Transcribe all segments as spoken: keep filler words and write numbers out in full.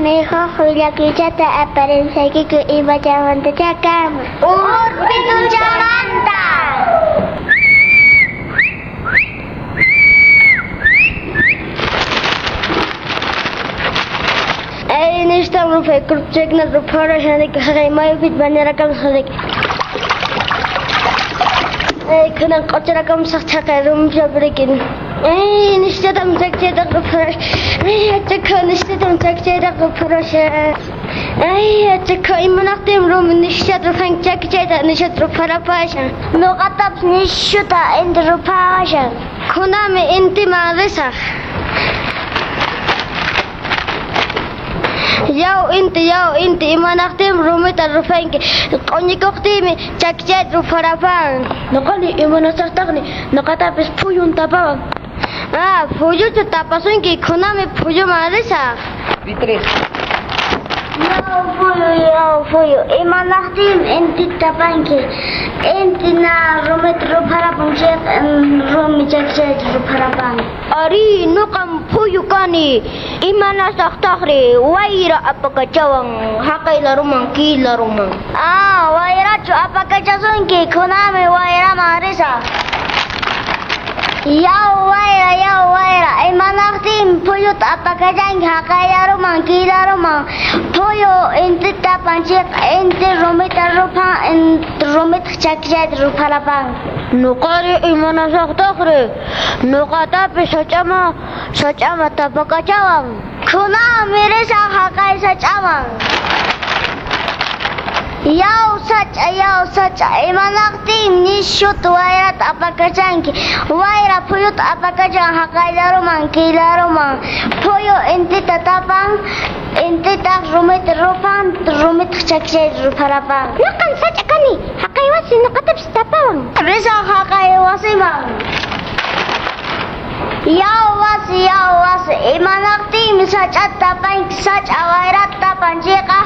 Huk willakuychata aparinchaykiku imachamantachá kanman. Urpituchamanta. Ay, nishtam rupay kurpchakna rupharashanik haqay mayupit bañarakamsaqnik. Ay, kunan q'ucharakamsaq chaqay rumchaprikin. Ay, nishtatam chakchayta rupharash. Ay, achakha nishtatam chakchayta rupharasha. Ay, achakha imanaqtin rumi nishtata ruphan chakchayta nishtata rupharapashan. Nuqatapas nishuta inti ruphawashan. Kunami intiman risaq. Yaw inti, yaw inti, imanaqtin rumita ruphanki. Q'uñikuqtiymi chakchayta rupharapan. Nuqani imanasaqtaqni nuqatapis phuyun tapawan. Ah, phuyuchu tapasunki, kunami phuyuman risaq. Tres. Yaw phuyu, yaw phuyu, imanaqtin inti tapanki. Inti na rumita rupharapun chayqa rumi chakchayta rupharapan. Ari, nuqam phuyu kani. Imanasaqtaqri wayra apakachawan haqay laruman kay laruman. Ah, wayrachu apakachasunki, kunami wayraman risaq. Yaw wayra, yaw wayra, imanaqtin phuyuta apakachanki haqay laruman kay laruman. Phuyu intita tapan chayqa inti rumita ruphan, rumita chakchayta rupharapan. Nuqari imanasaqtaqri nuqatapis sach'ama sach'ama tapakachawan. Kunami risaq haqay sach'aman. Yaw sach'a, yaw sach'a, imanaqtin nishuta wayrata apakachanki. Wayra phuyuta apakachan haqay laruman kay laruman. Phuyu intita tapan, intitaq rumita ruphan, rumita chakchayta rupharapan. Nuqam sach'a kani, haqay wasi nuqatapis tapawan. Risaq haqay wasiman. Yaw wasi, yaw wasi, imanaqtinmi sach'ata tapanki, sach'a wayrata tapan chayqa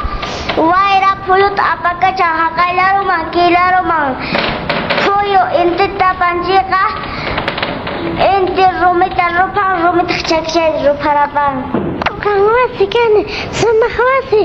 wayra phuyuta apakachan haqay laruman kay laruman. Phuyu intita tapan chayqa inti rumita ruphan, rumita chakchayta rupharapan. Nuqam wasi kani, sumaq wasi.